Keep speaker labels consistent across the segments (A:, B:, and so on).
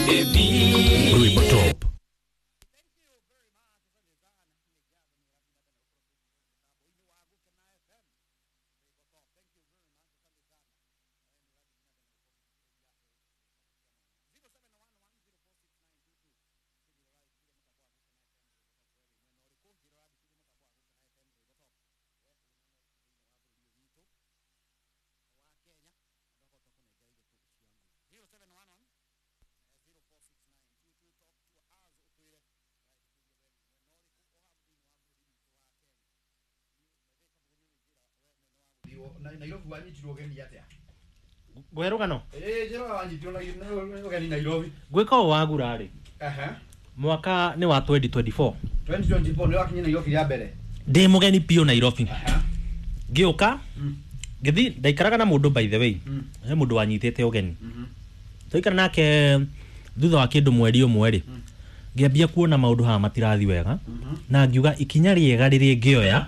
A: Rwimbo Top.
B: Nairobi wanyitirwo ũgeni atĩa?
C: Ngũhe rũgano.
B: Ĩĩ, njĩra wanyitirwo na ũgeni Nairobi.
C: Gwĩka ũũ wagura rĩ, mwaka nĩ wa 2024.
B: 2024 nĩ wakinya Nairobi rĩa mbere.
C: Ndĩ mũgeni biũ Nairobi. Ngĩũka ngĩthi ndaikaraga na mũndũ, by the way, he mũndũ wanyitĩte ũgeni. Twaikara nake thutha wa kĩndũ mweri ũmwe rĩ, ngĩambia kuona maũndũ haha matirathi wega, na ngiuga ikinya rĩega rĩrĩa ngĩoya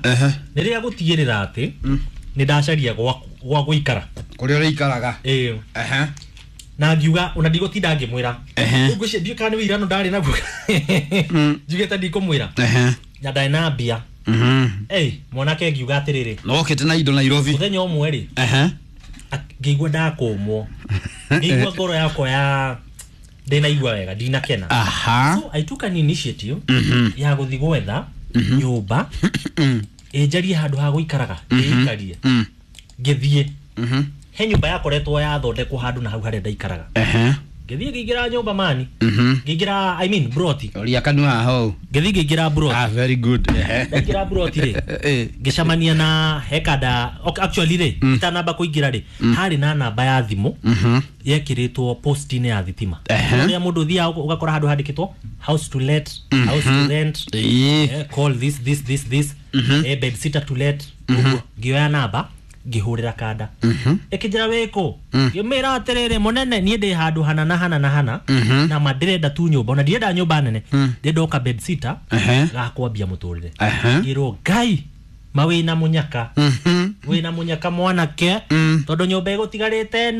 C: nĩ rĩa gũtigĩrĩra atĩ nĩ ndacaria gwa gũikara.
B: Kũrĩa ũrĩikaraga.
C: Ĩĩ. Na ngiuga ona ndigũtinda ngĩmwĩra. Rĩu ngwĩciria ndiũĩ kana nĩ wĩirano ndarĩ naguo, njugĩte ndikũmwĩra na ndarĩ na mbia. Ĩ mwanake, ngiuga atĩrĩrĩ,
B: Na wokĩte na indo Nairobi.
C: Mũthenya ũmwe rĩ, ngĩigua ndakũmwo, ngĩigua ngoro yakwa ya ndĩnaigua wega, ndinakena. So I took an initiative ya gũthiĩ gwetha nyũmba, ĩnjarie handũ ha gũikaraga, ndĩikarie. Ngĩthiĩ he nyũmba yakoretwo yathondekwo handũ na hau harĩa ndaikaraga. Ngĩthiĩ ngĩingĩra nyũmba mani, ngĩingĩra, I mean, broti.
B: Ũria kanua haha ũũ.
C: Ngĩthiĩ ngĩingĩra broti.
B: Ah, very good.
C: Ndaingĩra broti rĩ, ngĩcemania na hekanda. Okay, actually rĩ, itanamba kũingĩra rĩ, harĩ na namba ya thimũ yekĩrĩtwo post-inĩ ya thitima, ũrĩa mũndũ ũthiaga ũgakora handũ handĩkĩtwo "house to let", "house to rent", "call this this this this", "bed sitter to let", ũguo. Ngĩoya namba, ngĩhũrĩra kanda, ĩkĩnjĩra wĩkũ. Ngĩmĩra atĩrĩrĩ, mũnene, niĩ ndĩ handũ hana na hana na hana, na ma ndĩrenda tu nyũmba, ona ndirenda nyũmba nene, ndĩrenda oka bed sitter gakwambia mũtũrĩre. Ngĩrwo, Ngai ma wĩna mũnyaka, wĩna mũnyaka mwanake, tondũ nyũmba ĩgũtigarĩte ĩno.